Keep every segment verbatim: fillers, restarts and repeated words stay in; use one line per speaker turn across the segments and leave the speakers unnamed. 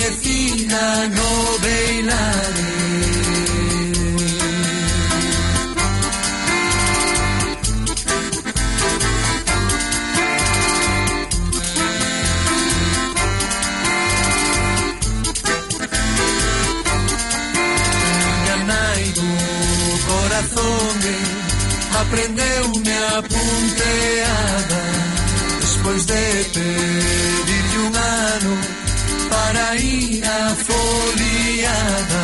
e fina no beilare. Aprendeu-me a punteada despois de pedirlle un ano para ir a foliada.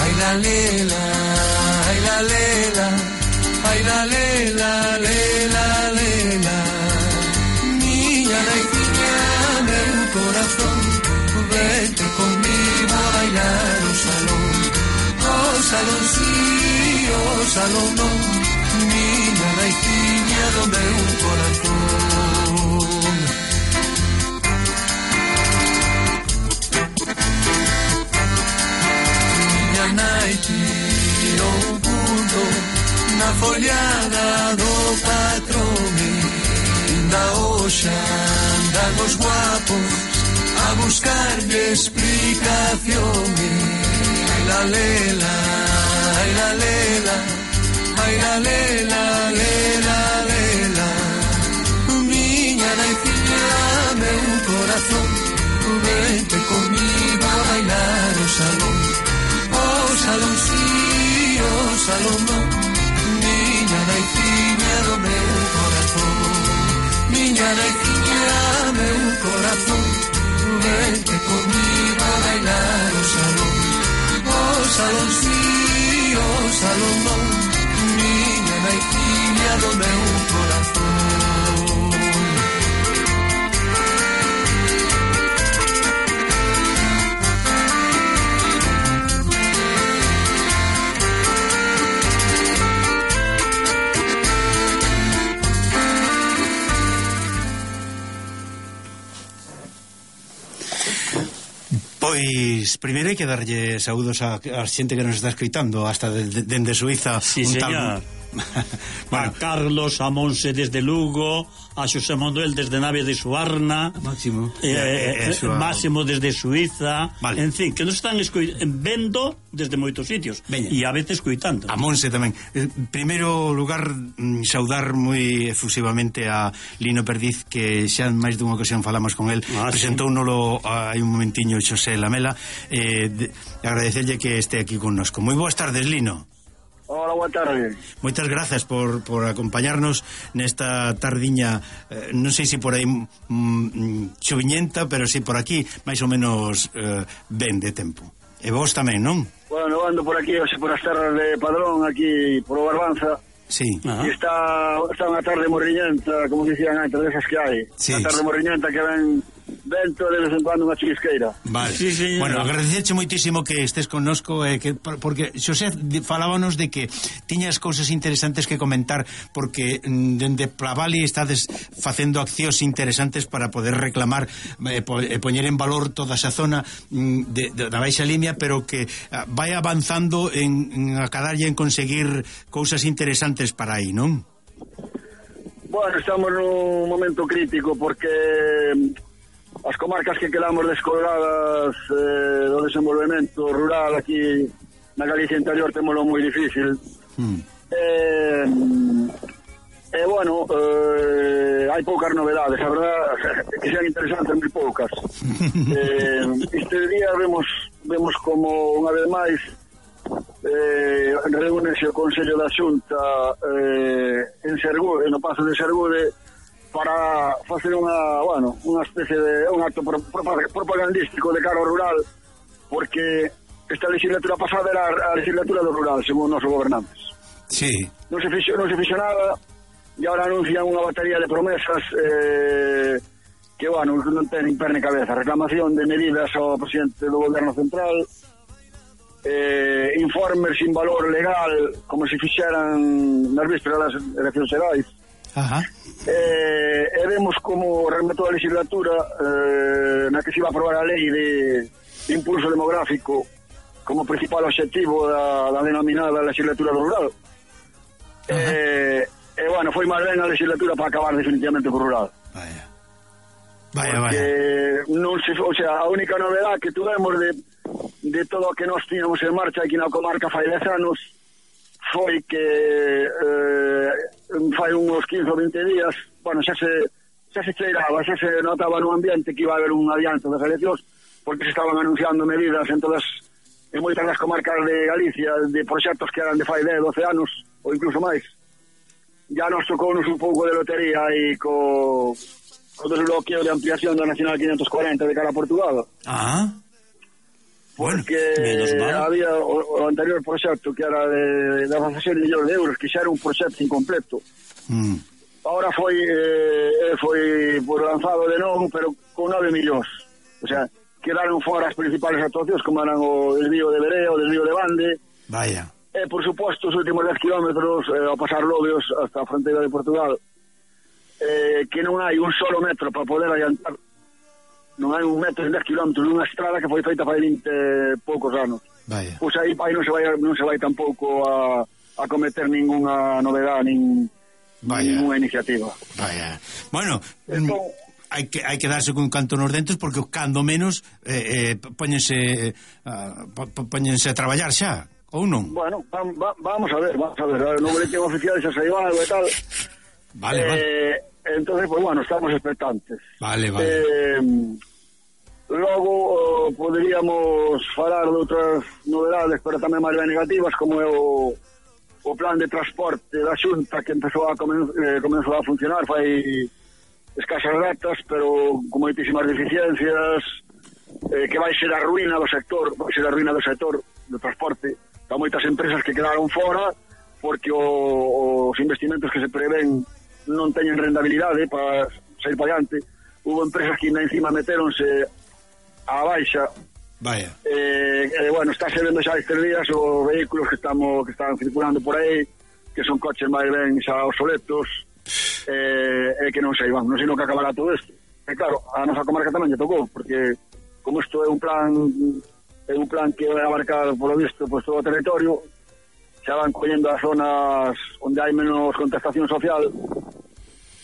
Ai la lela, ai la lela, ai la lela, lela, lela. Miña naiciña, meu corazón, vete conmigo a bailar o salón. O salón sí, o salón non. Miña naiciña do meu corazón. Miña nai tirou un punto na follada do patrón. Inda hoxe andan os guapos a buscarlle explicación. Ai la lela, ai la lela, ai la lela, lela, lela. Miña naiciña, meu corazón, vente comigo a bailar o salón. O salón sí, o salón non. Miña naiciña do meu corazón. Miña naiciña, meu corazón, vente comigo a bailar o salón. O salón sí, o salón non. Miña naiciña do meu corazón.
Pois, primeiro hai que darlle saúdos a, a xente que nos está escoitando hasta dende de, de Suiza.
Sí,
un
señor.
Tal... bueno.
A Carlos, a Monse desde Lugo, a Xosé Manuel desde Nave de Suarna,
Máximo
eh, eh, eh, Máximo desde Suiza,
vale.
En fin, que nos están vendo desde moitos sitios.
Veña.
E a veces coitando.
A Monse tamén. eh, Primeiro lugar, mm, saudar moi efusivamente a Lino Perdiz, que xa en máis dunha ocasión falamos con el.
Ah,
presentouno hai un momentiño Xosé Lamela. eh, de, Agradecerlle que este aquí connosco. Moi boas tardes, Lino.
Hola, boa tarde.
Moitas grazas por, por acompañarnos nesta tardiña, eh, non sei se por aí mm, choviñenta, pero si por aquí máis ou menos eh, ben de tempo. E vos tamén, non?
Bueno, ando por aquí, hoxe por as terras de Padrón, aquí por o Barbanza.
Sí.
E está, está unha tarde morriñenta, como dicían antes, desas que hai.
Sí.
Unha tarde morriñenta que ven vento de vez en cuando unha chisqueira.
Vale.
Sí, sí,
bueno, agradecerche moitísimo que estés connosco, eh, que, porque Xosé falábanos de que tiñas cousas interesantes que comentar, porque mm, dende Plavali estades facendo accións interesantes para poder reclamar e eh, po, eh, poñer en valor toda esa zona mm, de, de, da Baixa Limia, pero que ah, vai avanzando en, en acadarlle en conseguir cousas interesantes para aí, non?
Bueno, estamos nun momento crítico porque as comarcas que quedamos descolgadas eh, do desenvolvemento rural aquí na Galicia interior témolo moi difícil. Mm. Eh, eh, bueno, eh, hai poucas novedades, a verdad que sean interesantes moi poucas. eh, este día vemos vemos como unha vez máis eh, reúnese o Consello da Xunta eh, en Sergude, no Pazo de Sergude, para facer unha, bueno, unha especie de un acto propagandístico de cara ao rural, porque esta legislatura pasada era a legislatura do rural, según os nosos gobernantes.
Sí.
Non se fixo, non se fixo nada, e agora anuncian unha batería de promesas eh, que, bueno, non ten perna e cabeza. Reclamación de medidas ao presidente do goberno central, eh, informes sin valor legal, como se fixeran nas vísperas das eleccións xerais.
Ajá.
Eh, e vemos como rematou a legislatura eh, na que se iba a aprobar a lei de, de impulso demográfico como principal objetivo da, da denominada legislatura do rural. E eh, eh, bueno, foi máis ben a legislatura para acabar definitivamente co rural.
Vaya. Vaya,
porque
vaya.
non se, o sea, a única novedade que tuvemos de, de todo o que nós tínhamos en marcha aquí na comarca fai dez anos foi que eh, fai uns quince ou vinte días, bueno, xa se xa se cheiraba, xa se notaba no ambiente que iba a haber un adianto das eleccións, porque se estaban anunciando medidas en todas, en moitas das comarcas de Galicia, de proxectos que eran de fai dez, doce anos, ou incluso máis. Ya nos tocounos un pouco de lotería aí co o desbloqueo de ampliación da Nacional quinientos cuarenta de cara a Portugal.
Ah, bueno,
porque
menos mal.
había o, o anterior proxecto que era de, de dezasete millóns de euros, que xa era un proxecto incompleto.
mm.
Ahora foi eh, foi por lanzado de novo, pero con nove millóns. O sea, quedaron fora as principales actuacións, como eran o desvío de Bereo, o desvío de Bande.
Vaya.
E, por suposto, os últimos dez kilómetros eh, ao pasar Lobios hasta a fronteira de Portugal, eh, que non hai un solo metro para poder adiantar, non hai un metro en dez kilómetros dunha estrada que foi feita fai vinte poucos anos.
Vaya.
Pois aí, aí non se vai non se vai tampouco a, a cometer ninguna novedade, nin, ninguna iniciativa.
Vaya. Bueno,
entón,
hai que hai que darse con canto nos dentes, porque cando menos eh, eh, póñense uh, póñense a traballar xa, ou non?
Bueno, va, va, vamos a ver, vamos a ver, no boletín oficial xa saiu algo e tal.
Vale,
eh,
vale.
Entonces, pues bueno, estamos expectantes.
Vale, vale.
Eh, logo uh, poderíamos falar de outras novedades, pero tamén máis ben negativas, como é o, o plan de transporte da Xunta, que empezou a comen, eh, comenzou a funcionar fai escasas datas, pero con moitísimas deficiencias, eh, que vai ser a ruína do sector, vai ser a ruína do sector do transporte. Há moitas empresas que quedaron fora porque o, os investimentos que se prevén non teñen rentabilidade para sair para adiante. Hubo empresas que ainda encima meteronse a baixa.
Vaya.
Eh, eh, bueno, está se vendo xa estes días os vehículos que estamos que están circulando por aí, que son coches máis ben xa obsoletos, eh, e que non se iban, non sei no que acabará todo isto. E claro, a nosa comarca tamén lle tocou, porque como isto é un plan é un plan que vai abarcar, por lo visto, pues, todo o territorio, xa van collendo as zonas onde hai menos contestación social,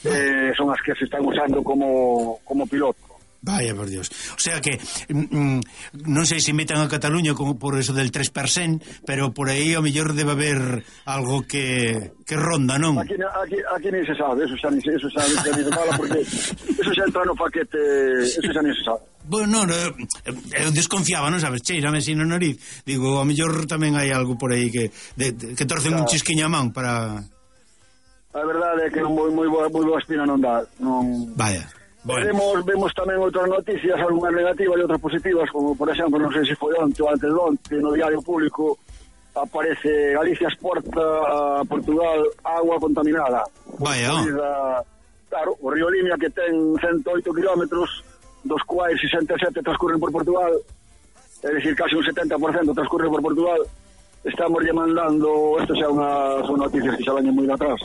eh, son as que se están usando como, como piloto.
Vaya, por Dios. O sea que mm, non sei se metan a Cataluña como por eso del tres por ciento, pero por aí ao mellor debe haber algo que, que ronda, non?
Aquí, aquí, aquí ni se sabe, eso xa ni se, eso xa ni se fala, porque eso xa entra no paquete, eso xa ni se sabe.
Bueno, no, eu desconfiaba, non sabes, cheirame así no nariz. Digo, ao mellor tamén hai algo por aí que de, de, que torcen claro un chisquiño a man para...
A verdade é que moi, moi, boa, moi boa espina non dá. Non...
Vaya. Bueno.
Vemos, vemos tamén outras noticias, algunhas negativas e outras positivas, como por exemplo, non sei se foi onte ou antes de onte, no diario público aparece Galicia exporta a Portugal agua contaminada.
Vaya.
Corrida, claro, o río Limia, que ten ciento oito kilómetros, dos cuais sesenta e sete transcurren por Portugal, é dicir, casi un setenta por cento transcurre por Portugal. Estamos lle mandando, isto xa unha, son noticias que xa veñen moi de atrás,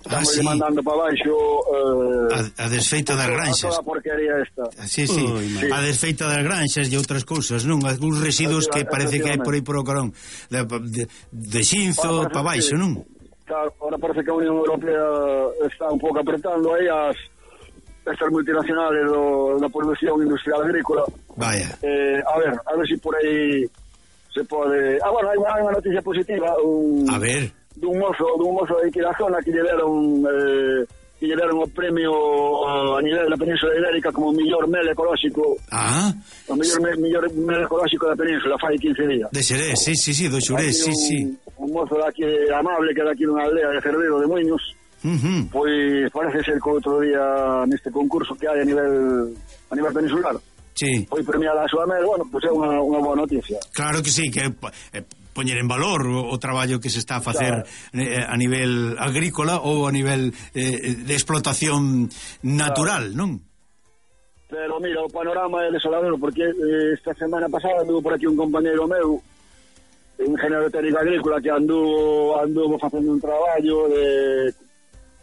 estamos ah, sí. mandando para baixo eh,
a, a desfeita das granxas,
a toda a porquería esta.
Sí, sí. Uy, sí. A desfeita das granxas e outras cousas, non? Algúns residuos que parece que hai por aí por o carón de, de, de xinzo para baixo, non?
Claro, ahora parece que a Unión Europea está un pouco apretando aí as estas multinacionales do, da producción industrial agrícola.
Vaya.
Eh, a ver, a ver si por aí se pode... Ah, bueno, hai unha noticia positiva. Un...
A ver...
dun mozo, dun mozo de aquí da zona que lle deron eh, que lle deron o premio a nivel da Península Ibérica como o mellor mel ecolóxico.
Ah,
o mellor, me, mellor mel ecolóxico da Península fai quince días.
De Xerés, sí, sí, sí, do Xurés, sí,
un,
sí.
Un mozo de aquí amable que é daqui dunha aldea de Cervedo de Muiños. Uh-huh. Pois parece ser que outro día neste concurso que hai a nivel a nivel peninsular.
Sí.
Foi premiada a súa mel, bueno, pois é unha, unha boa noticia.
Claro que sí, que eh, poñer en valor o, o traballo que se está a facer claro. eh, a nivel agrícola ou a nivel eh, de explotación natural, claro. Non?
Pero mira, o panorama é desolador, porque eh, esta semana pasada anduvo por aquí un compañeiro meu, un ingeniero técnico agrícola, que anduvo, anduvo facendo un traballo de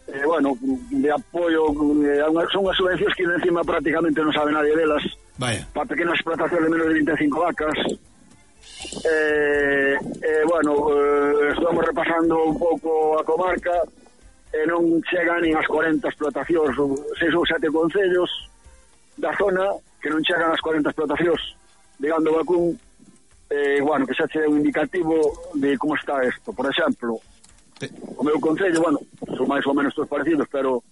eh, bueno, de apoio eh, a unha, son unhas subvencións que encima prácticamente non sabe nadie delas.
Vaya.
Para pequenas explotacións de menos de vinte e cinco vacas. Eh, eh, bueno, eh, estamos repasando un pouco a comarca e eh, non chegan nin as cuarenta explotacións, seis ou sete concellos, da zona que non chegan as corenta explotacións de gando vacún, eh, bueno, que xa che é un indicativo de como está isto. Por exemplo, o meu concello, bueno, son máis ou menos todos parecidos, pero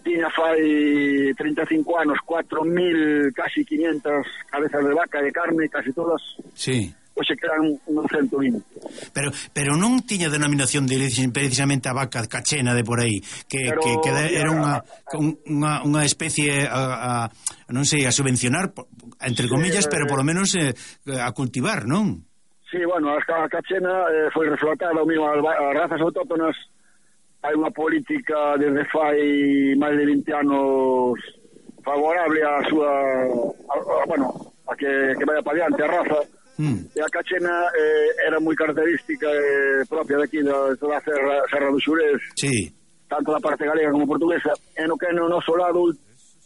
tiña fai trinta e cinco anos cuatro mil, casi quinientas cabezas de vaca de carne, casi todas.
Sí.
Hoxe quedan un cento vinte.
Pero pero non tiña denominación de origen precisamente a vaca cachena de por aí, que, pero, que, que era unha, unha, unha especie a, a, non sei, a subvencionar, entre comillas, sí, pero por lo menos eh, a cultivar, non?
Sí, bueno, a cachena eh, foi reflotada, o mismo, as razas autóctonas. Hai unha política desde fai máis de vinte anos favorable a súa, a, a, bueno, a que, que vaya para diante a raza. Mm. E a cachena eh, era moi característica eh, propia daqui da toda a Serra, Serra do Xurés,
sí,
tanto da parte galega como portuguesa, e no que no noso lado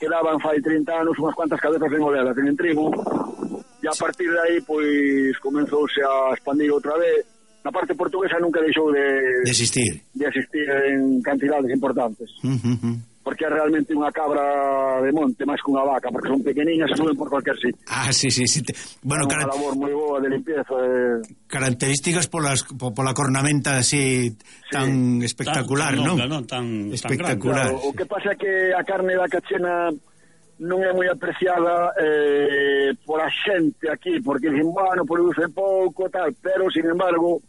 quedaban fai trinta anos unhas cuantas cabezas en oleadas en trigo, e a partir de aí pois comenzouse a expandir outra vez. Na parte portuguesa nunca deixou de,
de existir
de existir en cantidades importantes.
Uh-huh.
Porque é realmente unha cabra de monte máis que unha vaca, porque son pequeniñas e suben por cualquier sitio.
Ah, sí, sí, sí. Bueno,
é unha cara... labor moi boa de limpieza. Eh...
Características polas, pola cornamenta así tan sí. espectacular,
tan,
non?
Non, tan
espectacular.
Tan claro, o que pasa é que a carne da cachena non é moi apreciada eh, por a xente aquí, porque dicen, bueno, produce pouco, tal, pero, sin embargo,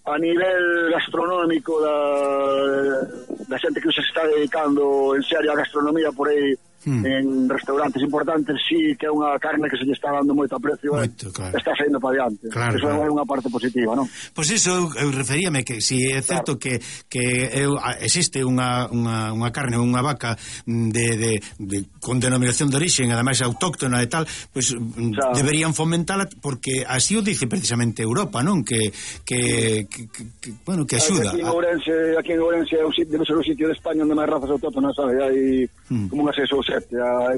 a nivel gastronómico da, da xente que se está dedicando en serio a gastronomía por aí, hmm. en restaurantes importantes, sí que é unha carne que se lle está dando moito aprecio, moito, claro. Está saindo para diante.
Claro,
eso
claro.
É unha parte positiva, non?
Pois pues iso, eu referíame que si é certo claro. que, que eu, existe unha, unha, unha carne, unha vaca de, de, de, con denominación de origen, ademais autóctona e tal, pois pues, deberían fomentala, porque así o dice precisamente Europa, non? Que, que, que, que bueno, que axuda.
Aquí en Ourense, aquí en Ourense debe ser o sitio de España onde máis razas autóctonas, sabe? Hai hmm. como unhas seis ou sete.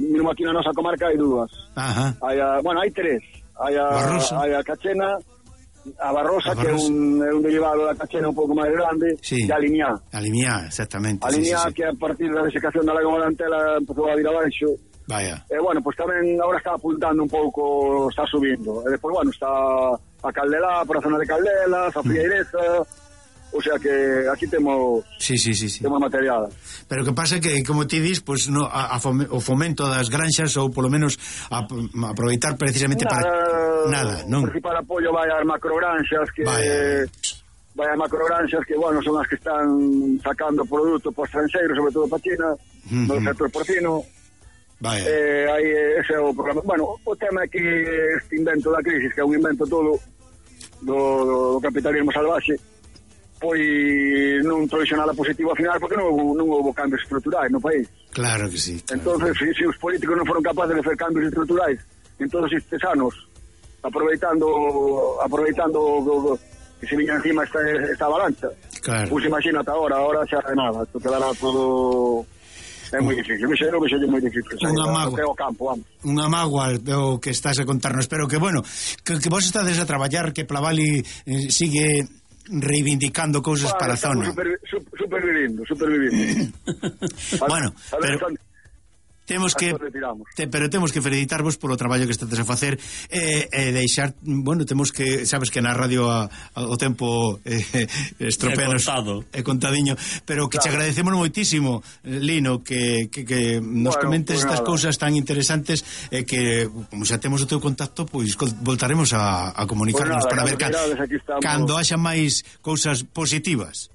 Mesmo aquí na nosa comarca hai dúas.
Ajá.
Hai a, bueno, hai tres. Hai a, hai a cachena, a barrosa, a que é un, é un derivado da cachena un pouco máis grande,
sí.
e a limiá.
A limiá, exactamente.
A limiá, sí, sí, sí. que a partir da desecación da lagoa da Antela empezou a vir abaixo.
Vaya.
E, bueno, pues tamén agora está apuntando un pouco, está subindo. E despois, bueno, está a Caldelá, por a zona de Caldelas, a Frieireza... Mm. O sea que aquí temos
sí, sí, sí, sí.
temos material.
Pero que pasa que, como ti dis, pues, no, a, a fome, o fomento das granxas ou polo menos a, a aproveitar precisamente
nada,
para nada, non?
O principal apoio vai ás macrogranxas que
Vaya.
vai ás macrogranxas que, bueno, son as que están sacando produto para estranxeiros, sobre todo para China, uh-huh. no sector porcino.
Vaya.
Eh, aí ese é o programa. Bueno, o tema é que este invento da crisis, que é un invento todo do, do capitalismo salvaxe, pois non trouxe nada positivo ao final porque non houve, non houve cambios estruturais no país.
Claro que sí. Claro.
Entonces, se si, si os políticos non foron capaces de facer cambios estruturais en todos estes anos, aproveitando aproveitando o, o, que se viña encima esta, esta avalancha,
claro.
Pois imagínate agora, agora xa de nada, isto quedará todo... É moi difícil, me xero, me xero moi difícil.
Unha mágoa,
campo, vamos.
Unha mágoa o que estás a contarnos, pero que, bueno, que, que vos estades a traballar, que Plavali eh, sigue... reivindicando cousas
bueno,
para a zona.
Super, super, supervivindo, supervivindo.
Bueno, pero temos que te, pero temos que felicitarvos polo traballo que estades a facer e eh, eh, deixar, bueno, temos que, sabes que na radio a, a, o tempo eh, estropeanos é contadiño, pero que claro. Te agradecemos moitísimo, Lino, que, que, que nos bueno, comentes pues estas nada. Cousas tan interesantes e eh, que, como xa temos o teu contacto, pois pues, voltaremos a, a comunicarnos pues nada, para ver ca, cando haxa máis cousas positivas.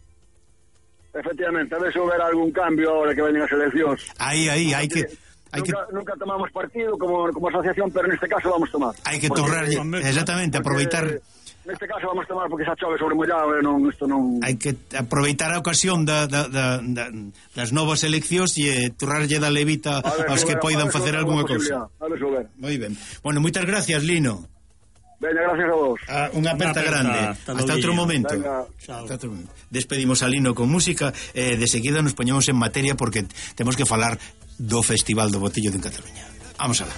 Efectivamente, a ver se houver algún cambio ahora que veñen as eleccións.
Aí, aí, hai que... Hai
nunca,
que...
nunca tomamos partido como, como asociación, pero neste caso vamos tomar.
Hai que torrar, exactamente, porque, aproveitar...
Neste caso vamos tomar porque xa chove sobre mollado e non, isto non...
Hai que aproveitar a ocasión da, da, da, da, das novas eleccións e torrarlle da levita ver, aos que poidan facer algunha cousa.
A ver, ver.
Moi ben. Bueno, moitas gracias, Lino.
Venga, gracias a vos.
Ah, unha aperta grande. Hasta, hasta outro momento. Hasta outro momento. Despedimos a Lino con música e eh, de seguida nos poñemos en materia porque temos que falar do Festival do Botello de Cataluña. Vamos alá.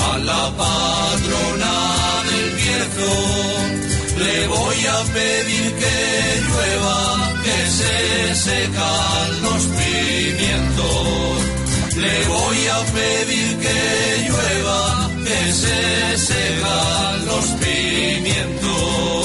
a la patrona del Bierzo. Le voy a pedir que llueva, que se secan los pimientos. Le voy a pedir que llueva, que se secan los pimientos.